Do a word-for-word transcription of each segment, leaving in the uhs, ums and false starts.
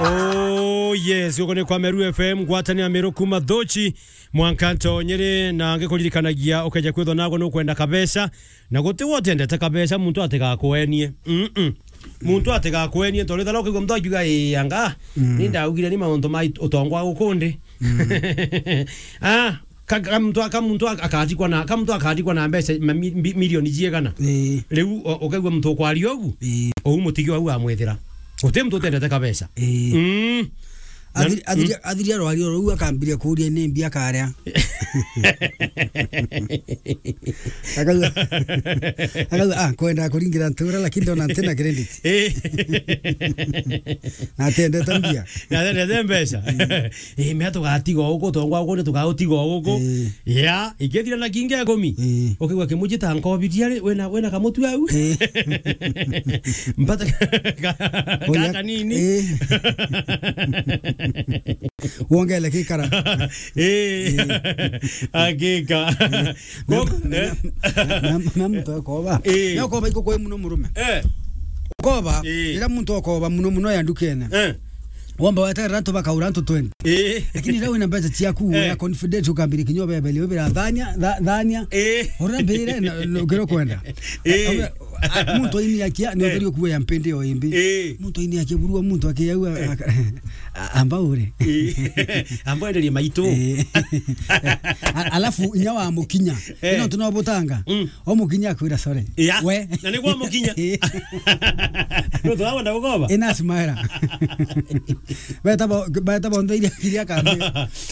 Oh yes, guku ni kwa Meru F M, ngwatanio ya Meru kuma Thochi, mwanka ntonyere, na ngikuririkanagia ukeja kwithwa nago nukwenda kabesa, na guti wotendete kabesa, muntu atigakwenie. Mm-mm. Muntu atigakwenie, tondu ethira ukigua muntu akiuga, "Ii, anga, mm, ni ndaugire ni mauntu ma it-, utongwa gukundi." Mm. Ah, ka, ka muntu, ka muntu ak-, akathikwa na, ka muntu akathikwa na mbeca ma mi-, mbi-, milioni ciigana. Ii. Riu o-, ukaigua muntu ukwaria ugu, ii, ou mutigi wau amwithira. Guti muntu utendete kabesa. Ii. Mm. Na athiri, athiri, mm, athiri arwaria ruu akambiria kuuria ni mbia akaria. Akauga, akauga, "Ah, kwenda kuringira ntura, lakini ndona ntina credit." Eh. Na atendete mbia. Na atendete mbeca. Mm. Eh, mea tugatiga o guku, tongwa guku, ni tugautiga o guku. Eh. Ya, ikethira na kingi ikumi. Eh. Ukigua kimuji ta nkobiria ri, wena, wena kamutu au. Eh. Mbata ka, ka, ka kanini. Eh. Wongele gikara. Eh. Eh. Hakika. Eh. Ko-, na, eh, na, na, na muntu akoba. Eh. Ni akoba iko kwa muno murume. Eh. Ukoba, eh, ira muntu akoba muno muno ya ndukene. Eh. Wamba weterera antu bakaura antu twenty. Eh. Lakini ira wina mbeca ciaku, eh, ya confidence ukambiri kinya ubebeli, ubira thania, tha-, thania. Eh. Ura mbire, na, na ukiro kwenda. Eh. Ura, a, muntu aini akia, ni, eh, utheri ukuwe ya mpindi o imbi. Eh. Muntu aini akia burua, muntu akiaua, eh, aka-, a-, amba ure. Eh. Amba enderie maitu. Eh. A-, alafu inya wa mukinya. Eh. Ino tunobutanga. Mm. O mukinya akwira, "Sorry." Ya. We. Na ni kwa mukinya. Eh. No turakwenda gukoba. Ina smile. Beta bo, beta bo ndo iria, iria kambe.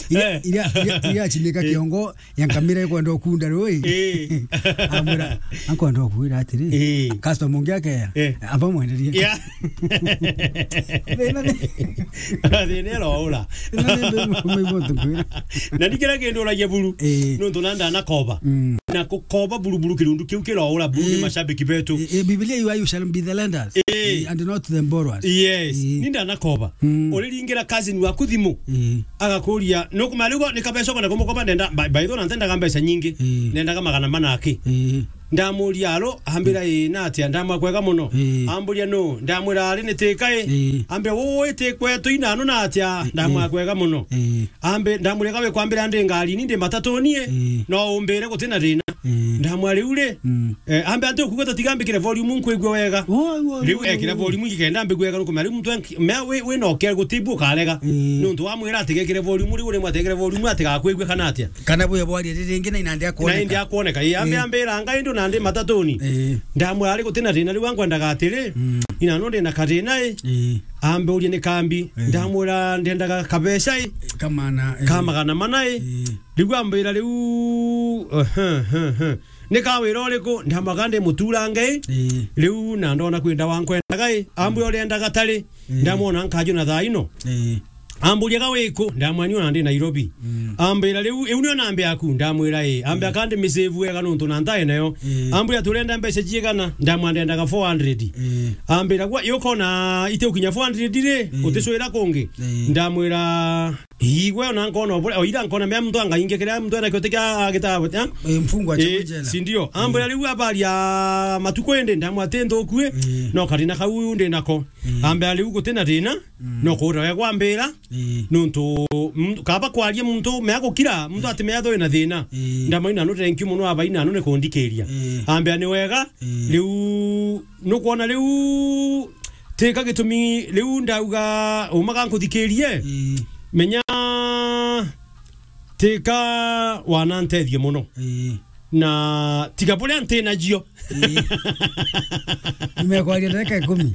Iria, eh, iria, iria, iria chinika, eh, kiongo. Ya nkamira ikwenda ukunda rui. Eh. Amwira, "Ankwenda ukwira atiri, eh, customer ungi akeya, eh, amba mwenderie." Ya. Thina ni, thina ni roura. Thina ni mbe mu-, mu-, muntu nkwira. Na ni kira kindu uragia buru. Eh. Nontu na ndanakoba. Mm. Na kukoba buru buru kirundu kiu kiroura buru ni, eh, mashabiki betu. Eh, eh, Biblia iwa, "You shall be the lenders, eh, and not the borrowers." Yes. Eh. Ni ndanakoba. Mm. Uriringira cousin waku thimu. Eh. Agakuria, "Nukumarigo ni kabeca ukwenda kumukoba?" Ndenda, by, by the way, na ntendaga mbeca nyingi. Ii. Nendaga magana mana aki. Ii. Ndamuria, "Alo?" Ambira, "Ii, na atia?" Ndamwa, "Kwega muno." Ii. Amburia, "Nu?" Ndamwira, "Ari ni tika i?" Ii. Ambira, "Uu i ti kwetu inanu na atia?" Ii. Ndamwa, "Kwega muno." Ii. Ambi-, ndamuria, "Ga wikwambira ndi ngarini, ndi matatuni i? Ii. No umbire guti na thina." Ii. Ndamwa, "Riu ri?" Mm. Eh, ambe anti ukuga tatiga mbikire volume nkwigua wega. Woi, woi, riu woi, ekira woi, volume ngikenda mbigua wega nukumenya riu muntu enki-, mea wi, wi noke gutibu ukarega. Ii. Nontu wamwira atigekire volume riu rimwe atigekire volume atigakwigua kana atia. Kana bwe bwari riri ringi na inandi akwoneka. Na indi akwoneka. Ii, ambe, ii, ambira ngai ndu nandi matatuni. Ii. Ndamwira ari gutina thina riu ankwendaga atiri. Mm. Ina no ndina kathina i. Ii. Ambe urie ni kambi. Ii. Ndamwira ndendaga kabeca i. Kamana, ii, ka magana mana i. Ii. Riu ambira riu, ehe, ehe, ehe. Ni kawira uriku? Ndamwira ndi muturange i. Ii. Riu na ndona kwenda wankwendaga i. Ambwira uriendaga tari. Ii. Ndamwona nkaju na thaa ino. Ii. Amburia ga wiku? Ndamwira ni ona ndi Nairobi. Mm. Ambira riu iu nio namba yaku? Ndamwira ii. Ambira, ii, kandi misave wega nontu na ntae nayo. Ii. Ambwira turenda mbeca ciigana? Ndamwira ndendaga four hundred. Ii. Ambira gwa yukona ite ukinya four hundred ri, ii, uticwira kungi? Ii. Ndamwira Ii, gwe ona nkona obure, o ira nkona mea muntu angainge kiria muntu ena kiote kia agita, eh? Eh, mfungwa cha, eh, jela. Si ndio? Ambwira, eh, riu abaria matuku indi ndamwira ti nthuku i, eh, no karina kau ndi nako. Eh. Ambira riu gutina thina, mm, no kuura we gwambira, eh, nontu, mm, kaba kwaria muntu mea gukira, muntu, eh, ati mea thoi na thina. Eh. Ndamwira, "Nanu thank you muno abaina, nanu ni kundikiria." Eh. Ambira, "Ni wega, eh, riu nukwona riu tika gitumi riu ndauga umaga nkuthikirie." Ii. Menya tika wanantethie muno. Ii. Na tiga buria nti najio. Ii. Nimekwaria ndagika ikumi.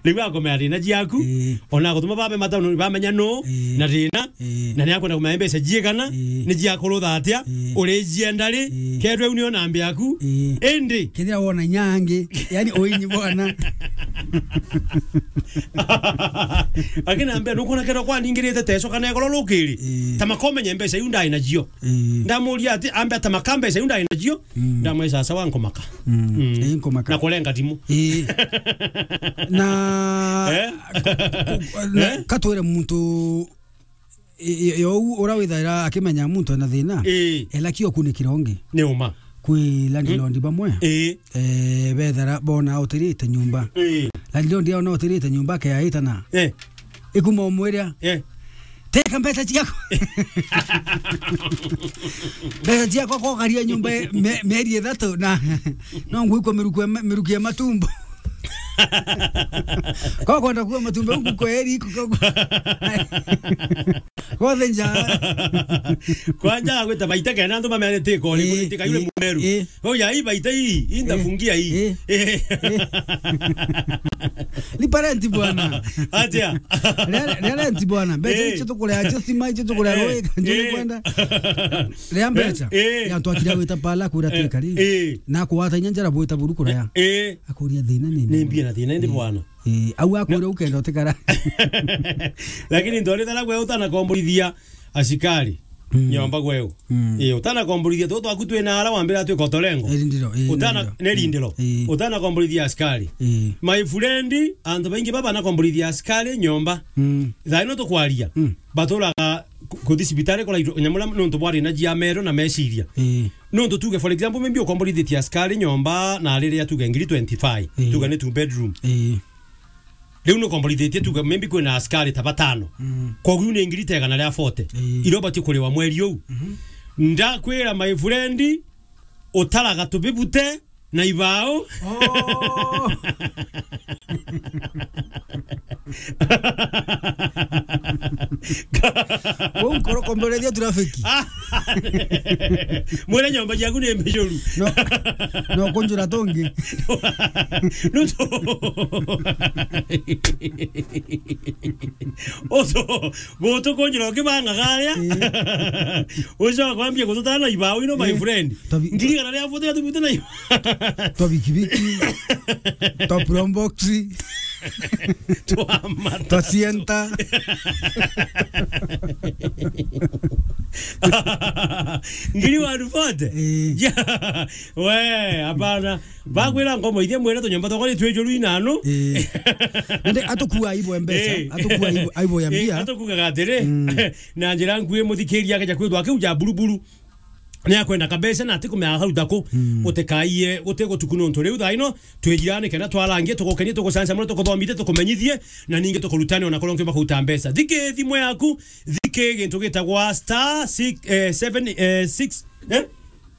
Riu akomea thina ciaku. Ii. Ona gutuma babe matauni bamenya nu, ii, na thina. Ii. Na ni akwenda kumenya mbeca ciigana, ii, ni ciakurutha atia, ii, uricienda ri, ii, kethira iu nio namba yaku. Ii. Indi kethira wona inya angi, yani uinyi bwana. Akina ambia, "Nukona kethira kwaningirite teco kana ekoro rukiri?" Ii. Ta makomenya mbeca iu ndai nacio. Ii. Ndamuria ati, ambia, "Ta maka mbeca iu ndai nacio?" Mm. Ndamwira, "Sawa, nkomaka." Mm. Mm. Ii, nkomaka. Na kurenga thimu. Ii. Na, eh? Ku-, ku-, na, eh? Katwire muntu I-, i-, yo u-, ura withaira akimenya muntu ena thina, ii, ela kio kunikira ungi. Ni uma. Kwi landlord, mm, bamwe, ii, eh, bethara bona utirite nyumba. Ii. Landlord aona utirite nyumba, akeaitana. Eh. Ikuma umwiria. Eh. Teka mbeca ciakwa. Mbeca ciakwa kokaria nyumba e-, me-, mieri ithatu na no ngwikwa miruku ya ma-, miruku ya matumbo. Kwa kwenda kuwa matumbo huku kwa eri iko kwa. Kwa thenja. Kwanja gwita baita kena antu bamenyete iko ni Eh, kuniteka yule eh, mumeru. Eh. Oya, hii baita hii, hii ndafungia hii. Eh. Eh. Eh. Lipa rent bwana. Atia. Ria, ria rent bwana. Mbeca Eh. icio tukurea, icio stima, icio tukurea Eh. roi, ndio Eh. kwenda. Ria mbeca. Eh. Ya twakira gwita pala kura Eh. twikari. Eh. Na kuwata inya njara bwita buru kuraya. Eh. Akuria thina ni Ni mbia na thina ndi Eh. bwana. Eh, au akwira ukenda utikara. Lakini ndorithana gwe utana komborithia asikari Mm. nyomba gweu. Mm. Eh, utana komborithia tu twaku twina ara wambira twi kotorengo. Eri ndiro, eh, Utana ndiro. Ne rindiro. Eh. Utana komborithia asikari. Eh. My friend, antu baingi baba na komborithia asikari nyomba. Mm. Thaino tukwaria. Mm. Baturaga ku-, kuthi cibitari kora nyamura nontu bwari na jia mero na meciria. Eh. Nontu tuge, for example, maybe ukomborithitie asikari nyomba na riria tuge ngiri twenty-five. Eh. Tuge ni two bedroom. Eh. Riu nukomborithitie tuge maybe kwina asikari ta batano. Mm. Koguo ni ngiri ta igana ria forty. Ii. Iria ubatie kuriwa mweri uu. Mhm. Ndakwira my friend, utaraga tubibute na ibao. Oh. Kou nkoro komborethia traffic. Mwene nyomba ciaku ni mbicuru. No, no kunjura tungi. Nutu. Utu, gutu kunjura ukibanga garia. Ii. Ucoka kwambia gututana na ibao ino, my Ii. friend. Tabi- Ngiri kana ria futhi tubute na ibao. Twa bikibiki. Twa probox. Twa mata. Twa sienta. Ngiri one forty? Eh. Yeah. We, hapana. Bakwira ngomo ithia mwene tunyomba twakwa ni twijuru inano. Eh. Nende atukua aibo ya mbeca, Eh. atukua aibo, aibo ya Eh, mbia. Atukugaga atiri, Mm. na njira nkui muthikiria akeja kwithwa akiu ja buruburu. Ni akwenda kabisa na atikumea hau daku. Mm. Utikaie, utigutuku nontu riu thaa ino, twijirane kenda twarangie, tugukenie, tugucanjamure, tukuthomithie, tukumenyithie, na ningi tukurutane ona kuria ungiumba kuruta mbeca. Thiki thimu yaku, thiki gintu gitagwa star six, eh, seven, eh, six, eh?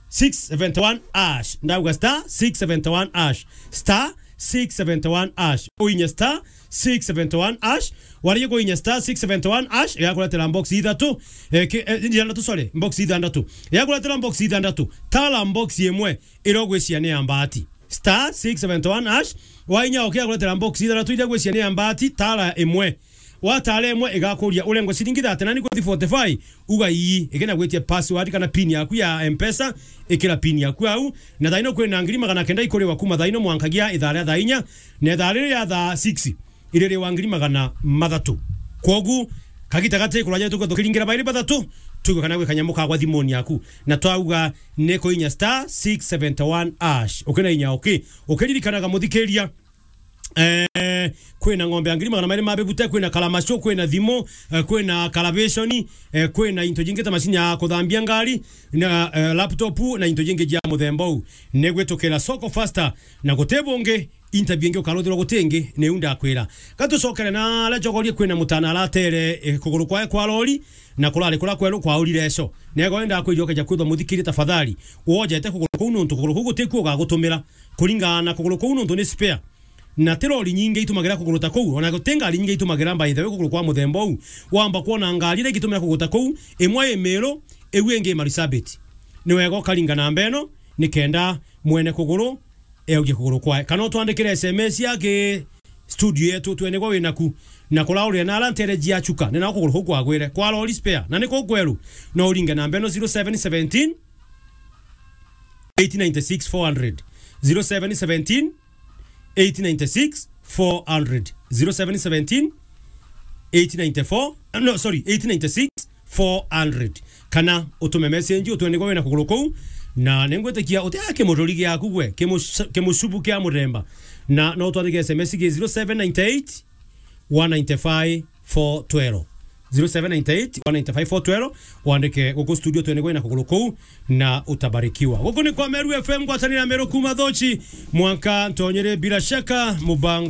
six seventy-one hash. Ndauga star six seventy-one hash. Star six seventy-one hash. Uinye star six seventy-one hash. Warigia kuinya star six seventy-one hash, igakuretera box ithatu. Eh, ki-, eh, ithandatu, sorry, box ithandatu. Igakuretera box ithandatu. Tara box imwe, iria ugwiciria ni ya mbati. Star six seventy-one hash. Wainya okay, igakuretera box ithandatu, iria ugwiciria ni ya mbati, tara imwe. Watara imwe, igakuria urengwe ciringi thirty-nine kuthi forty-five, uga ii, ikenda gwitia password kana pin yaku ya M-Pesa, ikira pin yaku au. Na thaino kwina ngiri magana kenda ikuriwa kuma thaino mwankagia ithaa ria thaa inya, na ithaa riria thaa six, iririwa ngiri magana mathatu. Kwogu, kagita gati kuraja tuko tukiringira bairi bathatu, tugo kana gwe kanyamu kagwa thimoni yaku. Na twauga ni kuinya star six seventy-one hash. Ukina inya okay. Ukiririkanaga muthikiria, Eh, kwina ng'ombe ya ngiri magana mairi ma bibute, kwina karamaco, kwina thimu, eh, kwina karabiconi, eh, kwina into jingi ta macini ya kuthambia ngari, na, eh, laptop, na into jingi jia muthemba uu. Ni gwitukira Soko Faster, na guti bungi, interview ingi ukaruthirwa guti ingi, ni u ndakwira. Gatucokere na aria njogorie kwina mutana aratere, eh, kuguru kwae kwa lori, na kurari kura kweru kwaurire eco. Nego enda kwijokeja kwithwa muthikirie tafadhali. Wojete kuguru kuu nontu kuguru kuu guti kuo ugagutumira. Kuringana na kuguru kuu nontu ni spare. Na ti lori nyingi itumagira kuguru ta kuu, ona guti ngari nyingi itumagira, by the way, kuguru kwa muthemba uu. Wamba kwona ngari iria igitumira kuguru ta kuu, imwe i Meru, iu ingi i Marsabit. Ni wega ukaringa namba ino, ni kenda mwene kuguru eugie kuguru kwae. Kana utwandikire S M S ya ki studio yetu, twenegwa winaku. Na kuraurire na ara ntere jia chuka, ni nao kuguru kuu kwagwire. Kwa lori spare, na ni kuu kweru, no uringe namba ino, zero seven seventeen, eight nine six, four hundred. Zero seven seventeen, eight nine six, four hundred. Zero seven seventeen, eight nine four, no, sorry, eight nine six, four hundred. Kana utume message, utwene kwa wina kuguru kuu, na ningwitikia utia kimururi giaku gwe, kimu-, kimucubu kia muremba. Na no utwandike S M S gi zero seven nine eight, one nine five, four twelve. Zero seven nine eight, one nine five, four twelve. Wandike guku studio, twenegwe na kuguru kuu, na utabarikiwa. Guku ni kwa Meru F M, ngwatanira Meru kuma Thochi, mwanka Ntonyere, bila shaka, mubango